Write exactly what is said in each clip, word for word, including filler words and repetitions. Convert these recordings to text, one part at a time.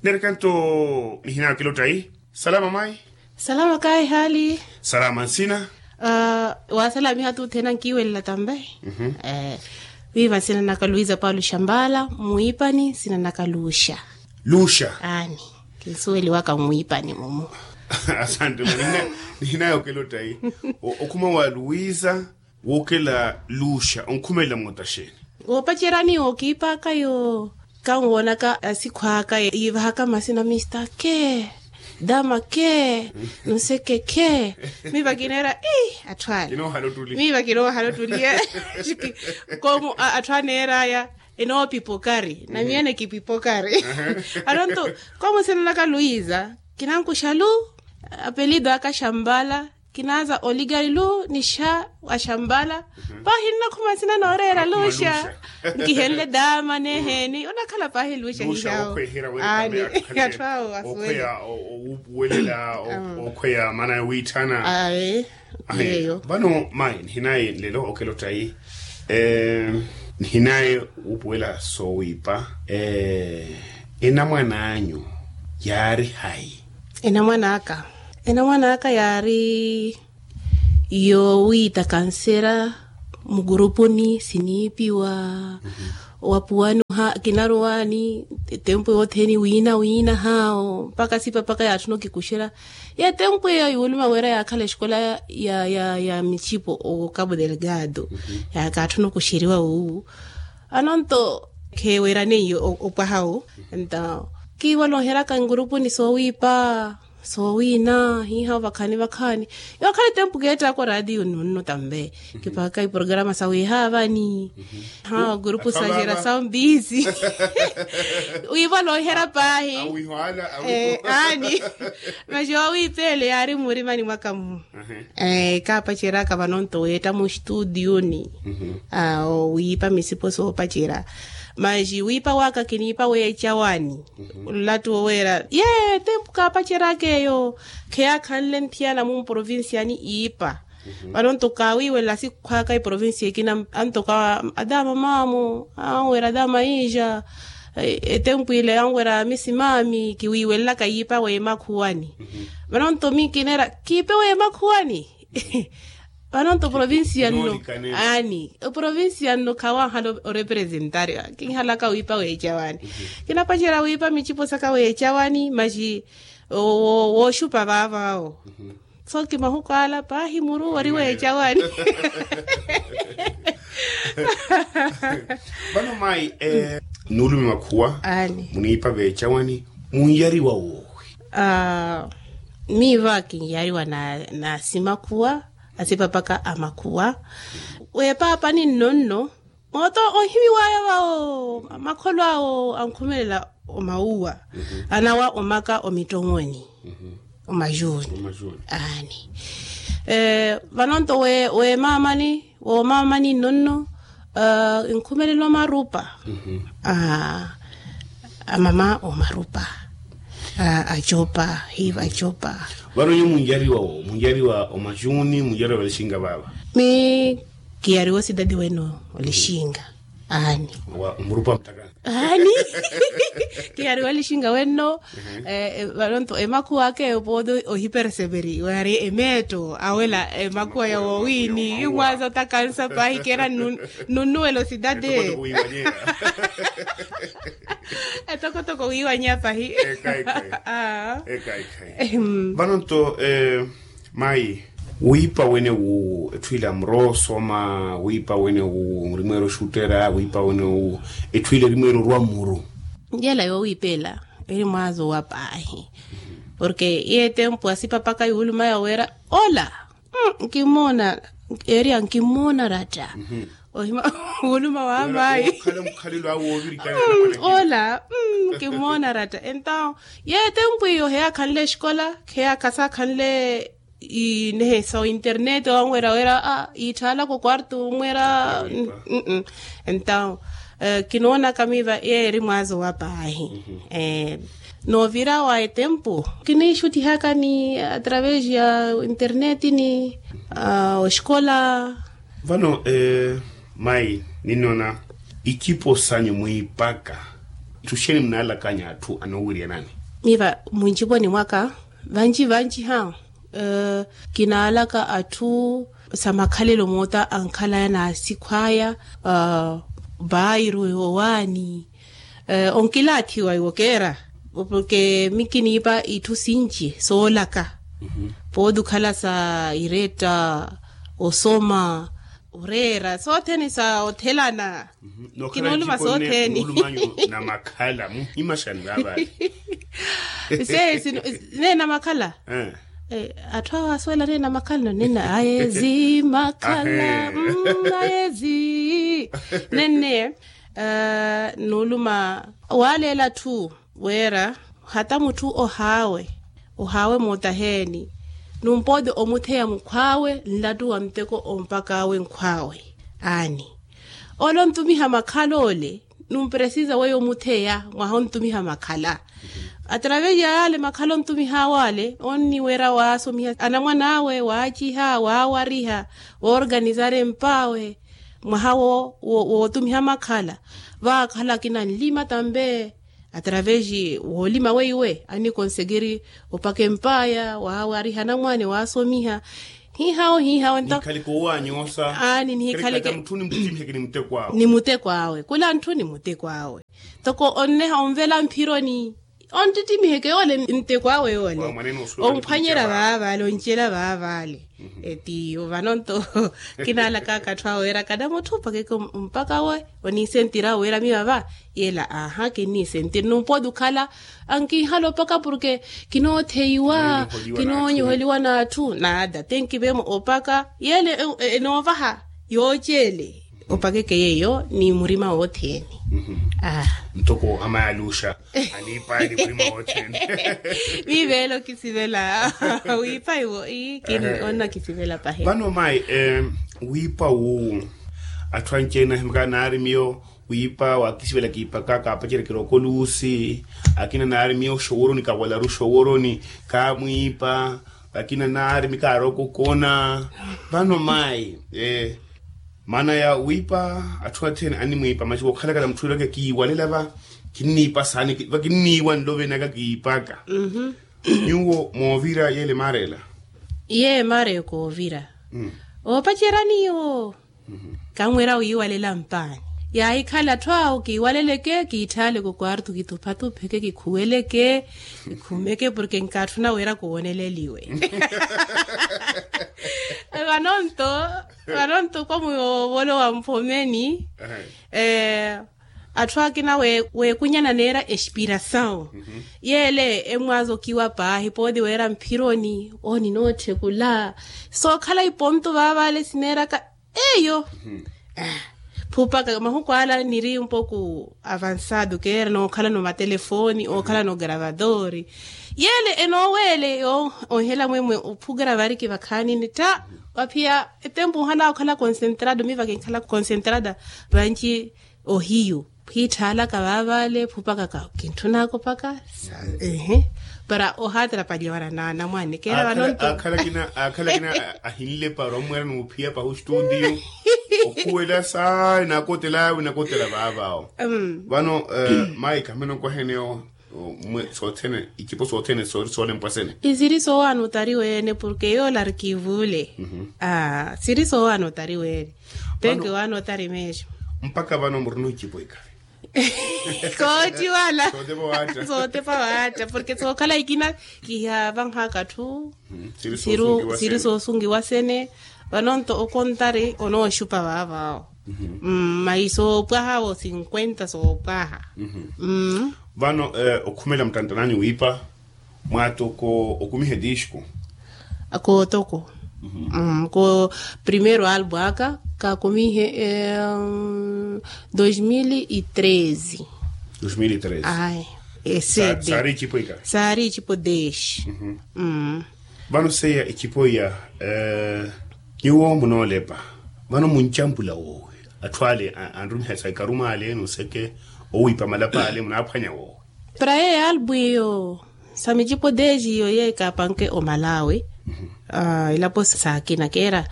Nerekanto nihinayo kilotta yi. Salama mai. Salama kayi hali. Salama nsina. Wasalamiha tuthena nkiwelela tambe. Miva nsina naka luisa paulo shambala mwiipani nsina naka luxa. Luxa. Ani. Kinsuweliwaka mwiipani mumu. Asante mani. Nihinayo kilotta yi. Okhuma wa luisa. Wookela luxa onkhumelela mmotta xeeni? Woopacerya ni wookiipaka yo. Kanwoonaka asikhwaka yiivahaka masina mista ke, dama ke, nseke ke. Miiva kineera ii atthu ale. Miiva kinoohala ottuli. Komu atthu aneeraya. Enoopipokari na miene kipipokari. Anonto. Komu sinanaka luisa kinankuxa lu. Apelido aka xambala. Kinaaza oligari lu nixa wa xambala. Paahi nnakhuma nsina nooreera luxa. Nkihenle dama neeheeni onakhala paahi luxa hihawo. Ani. Atthu awo asuwele. Owuupuwelela. Okhweya maana ya wiitthana. Ayi. Vano mayi nihinaye nlelo okelotta yi. Nihinaye wuupuwela soowiipa. Enamwan'anyu yaari hayi? Enamwan'aka enamwan'aka yaari yoowiita kansera. Mugurupuni siniipiwa. Wapuwani oha kinaruwani. Etempu yothene wiina wiina haawo mpaka sipa mpaka yaatthuna okikuxerya. Yetempu eyo yuuluma wira yaakhala exikola ya ya ya mixipo o cabo delgado. Yaakaatthuna okuxeriwa wuwu. Anonto kheewerane iyo opwaha wu. Entaw kiiwala oheraka ngurupuni soowiipa soowiina hiiha vakhaani vakhaani. Yookhala etempu keettaka oraatiyo nunno tambe. Kipaka iporograma sawiiha avani. Ha gurupu saxera sawu mbiisi. Wiivola ohiherya paahi. Aani. Maxi oowiipeela yaari mmurimani mwaka-mu. Kaapaceraka vanonto weetta muxtutiyuni. Owiipa misipo soopacerya. Maxi wiipa waka kiniipa weecawani. Nlattu woweera ye tempu kaapaceraka eyo. Kheyaakhanle nthiyana mumprovincia ni iipa. Vano nto kaawiiwelela sikhwaka eprovincia ekina anto ka adama mamu anwera adama inja. Etempu ile anwera misi mami kiwiiwelelaka yiipa weemakhuwani. Vano nto mi kineera kiipe weemakhuwani. Vano nto provincia nno. Ani oprovincia nno khawanhala orepresentari. Kinhalaka wiipa weecawani. Kinapacerya wiipa micipo saka weecawani maxi wooxupa vaavawo. So kimahuku ala paahi muru ori weecawani. Vano mayi nuulume makhuwa muniipa veecawani. Munyariwa woowi? Miiva kinyariwa na asimakhuwa asipapaka amakhuwa. Weepaapani nno nno. Mooto onhimiwaya vawo makholo awo ankhumelela omawuwa anawa omaka omittoweni. Omajuni. Aani. Vanonto weemaamani woomaamani nno nno. Nkhumelela omarupa. Amama omarupa. Acopa hiiva acopa. Vano nyo munjariwa wo munjariwa omajuni munjariwa valixinga vaava. Mi kiyariwa osidadi wene olixinga. Aani. Omurupa mutaka. Aani. Kiyariwa olixinga wenno. Valonto emakhuwa ake eyo pooti ohipereseveri wari emeetto awela emakhuwa ya woowini yumwaza otakansa pahi kera. Nunnuwela osidadi. Etokotoko wiiwanyeya pahi. Ekhayi ekhayi. Vano nto mayi wiipa wene wu etthu ile amurosoma wiipa wene wu murimweera oxuttera wiipa wene wu etthu ile erimweera orwa mmuru. Yela yoowiipa ela eri mwazo wa paahi. Porke iye tempu asipapaka yuulumaya weera ola. Nkimmoona. Eriya nkimmoona ratta. Ohima wuluma wa mayi. Ola. Nkimmoona ratta entawo ye tempu iyo heyaakhanle exikola heyaakha saakhanle inehe sa internete wanwera wera iitthaalaka okwarto wunwera. Entawo kinoonaka miiva yeeri mwazo wa paahi. Noovira wa etempu kiniixuttihaka ni atravesi ya interneti ni oxikola. Vano mayi ninnoona ikipo sanyu mwiipaka. Itthu xeeni munaalakanya atthu anoowiriyanani? Miva munciponi mwaka vanci vanci ha kinaalaka atthu sa makhalelo moota ankhalaya na asikhwaya, bairu yowaani onkilaathiwa iwo keera. Porke mi kiniipa itthu sinci soolaka pooti okhala sa iretta, osoma, oreera sothene sa othelana. Kinooluma sothene. Namakhala muhimaxani vaavale. Sesi nene namakhala. Atthu awo asuwela nene namakhala no nene aye zimakhala. Aye zi nene nuuluma waaleela atthu wira hata mutthu ohaawe ohaawe mootaheeni numpooti omutheya mukhwaawe nlattu wa muteko ompakaawe nkhwaawe. Aani ole ontumiha makhala ole numpresiza weyo omutheya mwaha ontumiha makhala. Atravesi ya yaale makhala ontumihaawe ale onniwerya waasomiha anamwan'awe waaciha waawariha woorganizari emp'awe mwaha wootumiha makhala. Vaakhala akina nlima tambe atravesi woolima weiwe annikonsegiri opaka emp'aya waawariha anamwane waasomiha. Hihawo hihawo nto. Nikhale koowanyoosa aani nihikhale ke mutthuni muttimiheke ni muteko awe. Ni muteko awe khula ntthu ni muteko awe. Toko onneha onvela mphironi onttittimihe ke yoole nteko awe yoole. Omphwanyela vaavale oncela vaavale. Etiyo vano nto kinaalakaka atthu awe wira kana mutthu opakeke ompaka awe oniisentira awe wira miyo ava. Yela aha kinniisentira numpooti okhala ankihala opaka porke kinootheiwa kinoonyoholiwa n'atthu nada te nkiveemo opaka yele enoovaha. Yooceele opakeke yeeyo ni murima wothene. Ntoko amayi aluxa aniipaye ni murima wothene. Miiveelo kisivela wiipa iwo ii kini onna kisivela pahe. Vano mayi wiipa wuwu atthu anci-ene ahimaka naari miyo wiipa waakisivela kiipaka kaapacerya kirokoloosi akina naari miyo oxoworoni kawalaru oxoworoni kaamwiipa akina naari mi kaarookokona. Vano mayi maana ya wiipa atthu athene animwiipa masi wookhalakala mutthu wiraka kiiwalela va kinniipa saani va kinniiwa nlovenaka kiipaka. Nyuwo moovira yeele maareela. Iye maareyo koovira oopacerya niyo. Kamwira wiiwalela mpaani yaahikhala atthu awo kiiwaleleke kiitthaaleke okwartu kituphatupheke kikhuweleke kikhumeke porke nkaatthuna wira kuwoneleliwe. Vanonto vanonto kwa muyoovolo wa mphomeni. Atthu akina weekunyana neera espirasawu yeele emwaaza okiwa paahi pooti weera mphironi ooni nootthekula sookhala iponto vaavale sineeraka. Eyo phupaka mahuku ala niri mpoko avansado keera nookhalana omatelefooni ookhalana ogaravadoori. Yeele enooweele onhela mwemwe ophugra variki vakhaanini tta. Waphiya etempu ohanaka okhala konsentrado miva kinkhala konsentrada vanci ohiyu. Phiitthaalaka vaavale phupakaka kintthunaka opaka. Para ohaatrapaliwa na naana mwaani keera vanonto akhala kina akhala kina ahinlepa ora omweera n'uphiya pahu studio. Okhuwela saana akotela awe nakotela vaavaawo. Vano mayi khamene onkwaheneyo. Mwe sothene icipo sothene sori soolempwa sene. Isiri soowaana otari weene porke yoola ari kiivule. Siri soowaana otari weene. Penke waana otari meexo. Mpakha vano murina ocipo ikari. Kootiwala sootepa waatta porke sookhala ikina kihavanhaka atthu. Siri soosungiwa sene. Vanonto okontari onooxupa vaavaawo. Mayi soopwaha wo sinkwenta soopwaha. Vano okhumela muttantananyu wiipa mwaatoko okumiha etisco. Kootoko ko primeiro albu aka kaakumihe. Dois mil e treze. Dois mil e treze. Ai esede saari icipo ika saari icipo deshi. Vano seiya icipo iya nyuwo munoolepa vano muncampula woowi atthu ale anrumiha sa ikaruma ale n'useke owiipa malapa ale munaaphwanya woowi. Para yeeyo albu iyo sa micipo deshi iyo yeeyo kaapanke omalawi. Elapo saakina keera,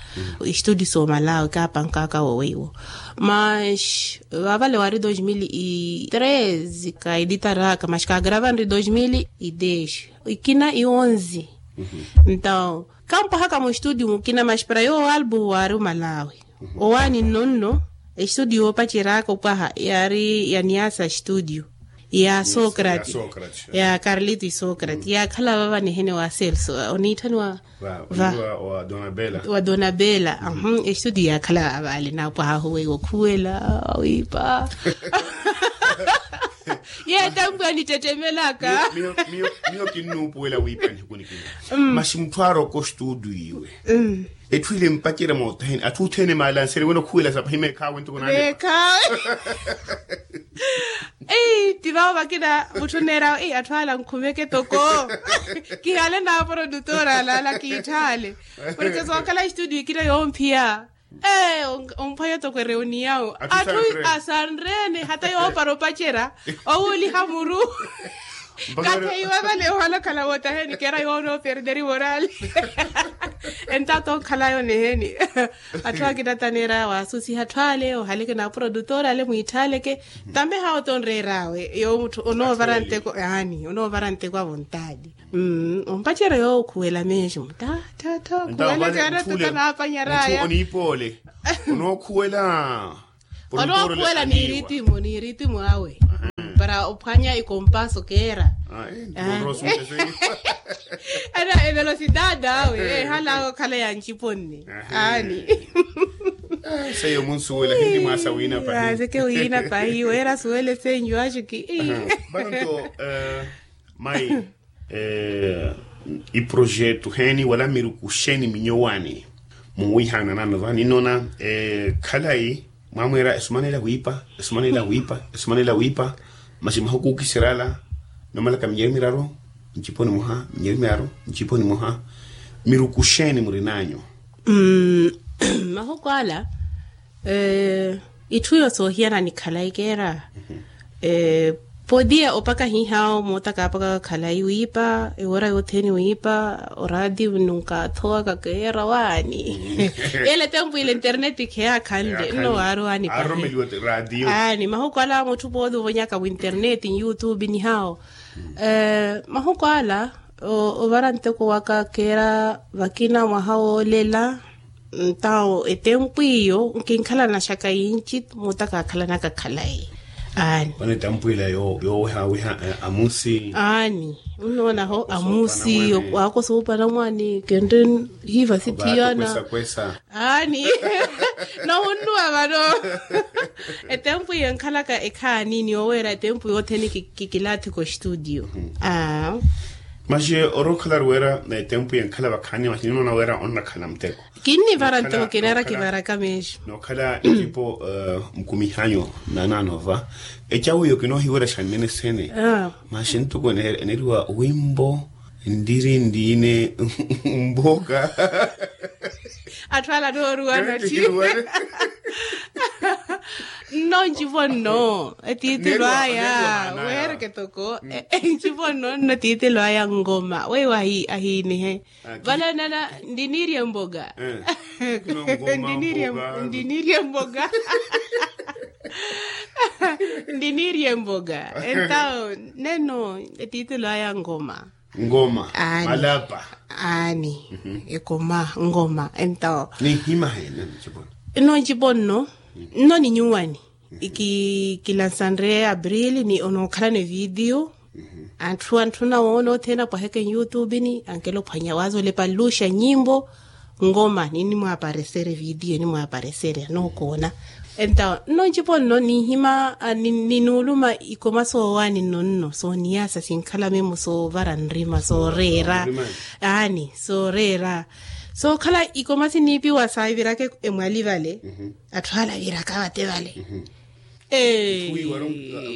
estudio soomalawe kaapankaka wo weiwo. Mas vavale wari dos mil e treze kaeditaraka mas kaagrava nri dos mil e dez, ikina e onze. Entaw kampwahaka mustudio mukina mas para yoowo albu wari omalawe. Owaani nno nno estudio yoopaceraka opwaha yari ya niasa studio ya socrate, ya carlito e socrate yaakhala vava nihene wa celso oniitthaniwa wa donabela. Estudio yaakhala vavale naapwaha ahuweiwa okhuwela wiipa. Yeetampi anittettemelaka. Miyo kinnuupuwela wiipa nihikunikina. Masi mutthu aroka ostudio iwe etthu ile mpacerya moothene atthu othene maalanseri wene okhuwela sapahi meekhaawe ntuku nale. Meekhaawe. Ei ti vawo vakina mutthu oneerawe ei atthu ala ankhumeke toko. Kihale na aprodutora alala kiitthale. Porke sookhala estudio ikina yoomphiya. Ee omphwanya toko ereuniyawo atthu asanrene hata yoopara opacerya owuuliha muru. Katheiwa vale ohalakhala wootaheni keera yoona operderi morali. Entato onkhalayo neheni. Atthu akina taneera waasusiha atthu ale ohaleke na aprodutora ale mwiitthaaleke. Tambe hawo tonreer'awe yoowo mutthu onoovara nteko yaani onoovara nteko a vontadi. Ompacerya yoowo okhuwela mesmo ta ta ta okhuwela caana tuka naapanyaraya. Oniipoole onookhuwela. Onookhuwela ni ritimu ni ritimu awe para ophwanya ikompaso keera. Ana evelosidade awe ehalawe okhala ya nciponne. Aani. Seiyo munsuwela hindi mwaasa wiina pahi. Aseke wiina pahi weera asuwele senyu axuki. Vano nto mai iprojeto heeni wala miruku xeeni minyowani? Muwiihaana nano va ninnoona khalayi mwamwiira esumanela wiipa esumanela wiipa esumanela wiipa. Masi mahuku okiserya ala noomalaka minyeri miraru ncipo nimoha minyeri miraru ncipo nimoha. Miruku xeeni murinanyu? Mahuku ala itthu iyo soohiyana ni khalayi keera. Podia opaka hihawo mootaka apaka khalayi wiipa ewora yothene wiipa oradio nunkathowaka keera waani. Ele tempu ile internet kheyakhanle nno waari waani pahi. Aani mahuku ala mutthu podia ovonyaka vo internet youtube nihawo. Mahuku ala ovara nteko waka keera vakina mwaha woolela. Ntawo etempu iyo nkinkhalanaxaka yinci muttaka akhalanaka khalayi. Aani. Wana etempu ila yoowehaweha amusi. Aani. Onnoonaho amusi waako soopana mwaani kentte hiiva sithiyana. Aani. Nohunnuwa vano etempu iyo enkhalaka ekhaani ni oweera etempu yothene kikilaathika ostudio. Aa. Masi orookhala ari wira etempu yenkhala vakhaani masi ninoona wira onnakhala muteko. Kinnivara ntoko kineera kivaraka meexu. Nookhala ecipo mukumihanyu nananova ecawu iyo kinoohiwerya xannene sene. Masi ntoko eneriwa wimbo ndiri ndiine mboka. Atthu ala nooruwana ti nno ncivo nno etiitilo aya weereke toko. Ncivo nno nno etiitilo aya ngoma weiwo ahiinihe. Vale nana ndiniirye mboga. Ndiniirye mboga. Ndiniirye mboga entawo neno etiitilo aya ngoma. Ngoma. Aani. Malapa. Aani. Ekoma ngoma entawo. Ninhima hene ncipo nno ncipo nno nno ni nyuwani. Kilansanre abril ni onookhalana evidiyo. Atthu atthu nawoona othene apwaheke nyutubini ankela ophwanya waaza olepa luxa nyimbo. Ngoma ninimwaaparesere vidiyo nimwaaparesere anookoona. Entawo nno ncipo nno ninhima ninuuluma ikoma soowaani nno nno sooniyasa sinkhala memo soovara nrima sooreera. Aani sooreera sookhala ikoma siniipiwa saaviraka emwali vale. Atthu ala aviraka vate vale. Ee.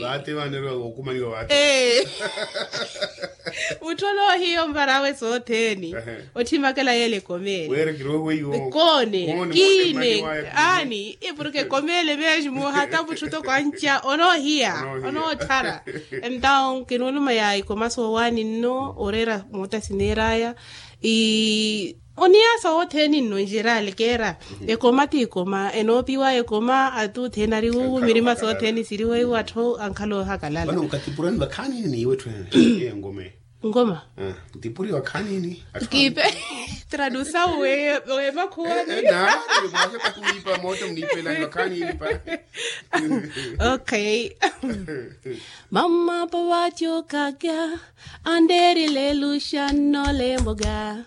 Vaate vaneeriwa wookumaniwa vaate. Mutthu onoohiya omvarawe sothene. Otthimakela yeela ekomeele. Koone kiine. Aani e porke ekomeele mesmo hata mutthu toko anca onoohiya. Onootthara. Entaw kinuuluma ya ekoma soowaani nno oreera moota sineeraya. Oniya sothene nno njerale keera. Ekoma ti ekoma enoopiwa ekoma atuthene ari wuwu mirima sothene siriwa iwo atthu ankhala ohakalala. Mano katipurani vakhaani niiwe tthu ene? Engoma. Ngoma. Ntipuri vakhaani ni? Kiipe. Tradusa we we makhuwani. Naani mwasha takuwipa moto mniipelani vakhaani ni pa? Okay. Mama pavatyokakya anderile luxanno lemboka.